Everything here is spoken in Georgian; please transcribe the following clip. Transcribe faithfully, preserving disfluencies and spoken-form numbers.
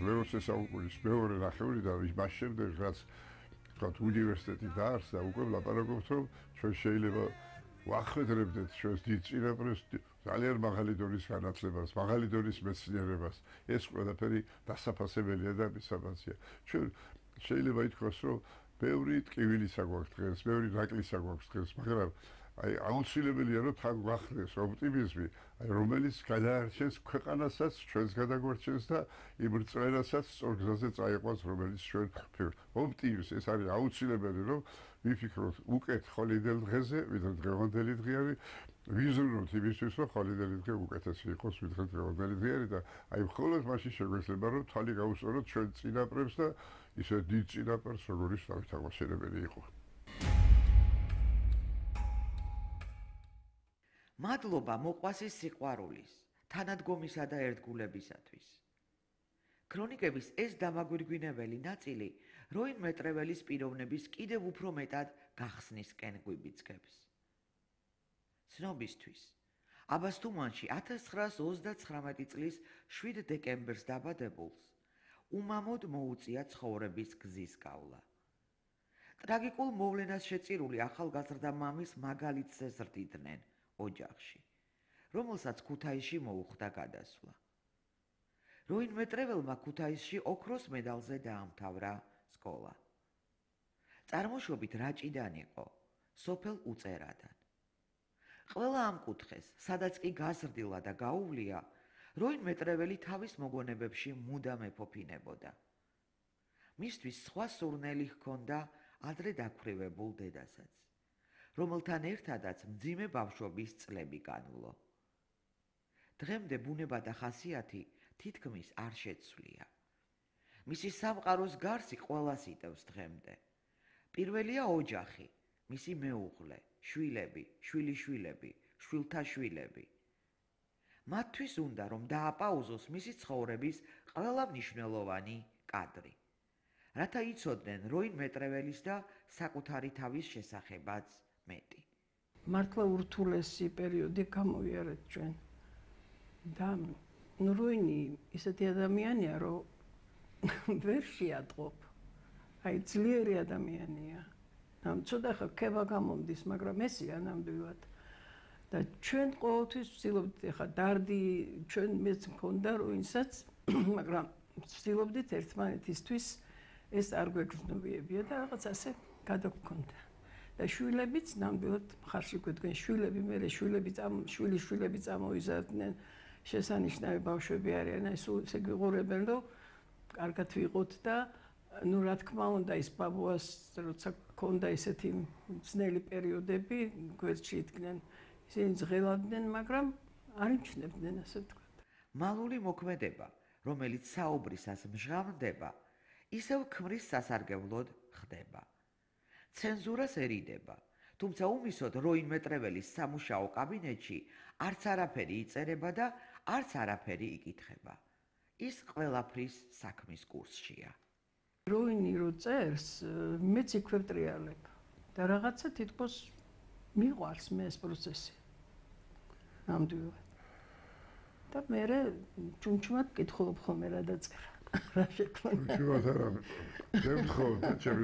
მეოცე საუკუნის მეორე ნახევრიდან იმას შემდეგ რაც თქვათ უნივერსიტეტი დაარსდა უკვე ვლაპარაკობთ რომ ჩვენ შეიძლება ვახვედრებდეთ ჩვენს დიდ წინაპრებს ძალიან მაღალი დონის განათლებას, მაღალი დონის მეცნიერებას. ეს ყველაფერი დასაფასებელია და მისამაცია. ჩვენ შეიძლება ითქვას რომ ბევრი ტკივილისა გვაქვს დღეს, ბევრი ნაკლისა გვაქვს დღეს, მაგრამ აი აუცილებელია რომ თან გვახდეს ოპტიმიზმი, აი რომელიც გადაარჩენს ქვეყანასაც, ჩვენს გადაგვარჩენს და იმ რწმენასაც სწორ გზაზე წაიყვანს, რომელიც ჩვენ ვფიქრობთ. ოპტიმიზმი ეს არის აუცილებელი რომ ვიფიქროთ უკეთ ხოლიდელ დღეზე, ვიდრე დღევანდელი დღე არის, ვიზრუნოთ იმისთვის, რომ ხოლიდელი დღე უკეთესი იყოს, ვიდრე დღევანდელი დღე არის და აი მხოლოდ მაშინ შეგვეძლება რომ თვალი გაუსწოროთ ჩვენ წინაპრებს და ისე დიდ წინაპრებს, როგორიც დავით აღმაშენებელი იყო. მადლობა მოყვასის სიყვარულის, თანადგომისა და ერთგულებისათვის. ქრონიკების ეს დამაგვირგვინებელი ნაწილი როინ მეტრეველის პიროვნების კიდევ უფრო მეტად გახსნისკენ გვიბიძგებს. ცნობისთვის, აბასთუმანში ათას ცხრაას ოცდაცხრამეტი წლის შვიდ დეკემბერს დაბადებულს უმამოდ მოუწია ცხოვრების გზის გავლა. ტრაგიკულ მოვლენას შეწირული ახალგაზრდა მამის მაგალითზე ზრდიდნენ ოჯახში, რომელსაც ქუთაისში მოუხდა გადასვლა. როინ მეტრეველმა ქუთაისში ოქროს მედალზე დაამთავრა სკოლა. წარმოშობით რაჭიდან იყო, სოფელ უწერადან. ყველა ამ კუთხეს, სადაც კი გაზრდილა და გაუვლია, როინ მეტრეველი თავის მოგონებებში მუდამ ეფოფინებოდა. მისთვის სხვა სურნელი ჰქონდა ადრე დაქვრივებულ დედასაც, რომელთან ერთადაც მძიმე ბავშვობის წლები განვლო. დღემდე ბუნება და ხასიათი თითქმის არ შეცვლია. მისი სამყაროს გარსი ყველას იტევს დღემდე. პირველია ოჯახი, მისი მეუღლე, შვილები, შვილიშვილები, შვილთა შვილები. მათთვის უნდა რომ დააპაუზოს მისი ცხოვრების ყველა მნიშვნელოვანი კადრი, რათა იცოდნენ როინ მეტრეველის და საკუთარი თავის შესახებაც მეტი. მართლა ურთულესი პერიოდი გამოვიარეთ ჩვენ. და როინი ისეთი ადამიანია, რომ ვერ შეატყობ. აი ძლიერი ადამიანია. ამ ცოტა ხა ქება გამომდის, მაგრამ ესია ნამდვილად. და ჩვენ ყოველთვის ვცდილობდით, ხა დარდი ჩვენ მეც მქონდა როინსაც, მაგრამ ვცდილობდით ერთმანეთისთვის ეს არ გვეგრძნობიებია და რაღაც ასე გადაგქონდა. და შვილებიც ნამდვილად მხარში გვედგნენ, შვილები მე შვილები წამ შვილი შვილები წამოიზარდნენ, შესანიშნავი ბავშვები არიან, აი სულ ესე გვიყურებენ, რომ კარგად ვიყოთ და ну, რა თქმა უნდა, ის ბაბუას როცა ქონდა ესეთი ძნელი პერიოდები, გვერდში იდგნენ, ისინი ზღელავდნენ, მაგრამ არ იმჩნევდნენ, ასე ვთქვათ. მალული მოქმედება, რომელიც საუბრისას მჟღავნდება, ისევ ქმრის სასარგებლოდ ხდება. ცენზურას ერიდება, თუმცა უმისოდ როინ მეტრეველის სამუშაო კაბინეტში არც არაფერი იწერება და არც არაფერი იკითხება. ის ყველაფრის საქმის კურსშია. როინი რო წერს, მეც იქვე ვტრიალებ და რაღაცა თითქოს მიყვარს მე ეს პროცესი. ნამდვილად. და მე ჭუმჭუმად კითხულობ ხოლმე რა დაწერა. რა შექმნა. ჭუმჭუმად არა. მე ვთხოვ, ჩემი